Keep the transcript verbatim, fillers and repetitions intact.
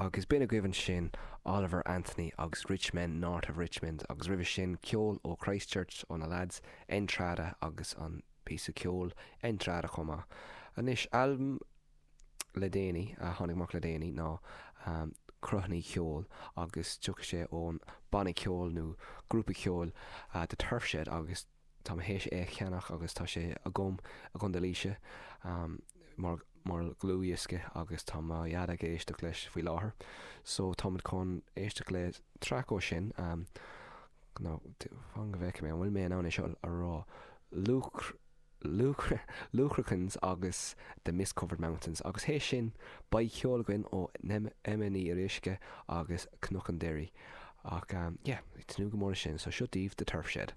Agus b'in agaibh ansin Oliver Anthony agus Rich Men North of Richmond agus roimhe sin ceol ó Christchurch ó na lads Entrada agus an píosa ceoil Entrada chomh maith. Anois albam le déanaí a tháinig amach le déanaí ná um, Cruithne Ceoil agus tiocfaidh sé ón banna ceoil nó grúpa ceoil uh, The Turf Shed agus tá mé théis é cheannach agus tá sé agam i gContae Laoise um, mar mar dhlúthdhiosca agus tá mo dhaid ag éisteacht leis faoi láthair. So táimid chun éisteacht le traic ó sin um, no, fan go bhfeicfidh mé an bhfuil mé in ann é seo a rá Luke Luachrachains agus The Mist Covered Mountains agus théis sin beidh ceol againn ó Emma Ní Fhíoruisce agus Cnoc an Doirí ach um, yeah, tnúth go mór sin, so seo daoibh The Turf Shed.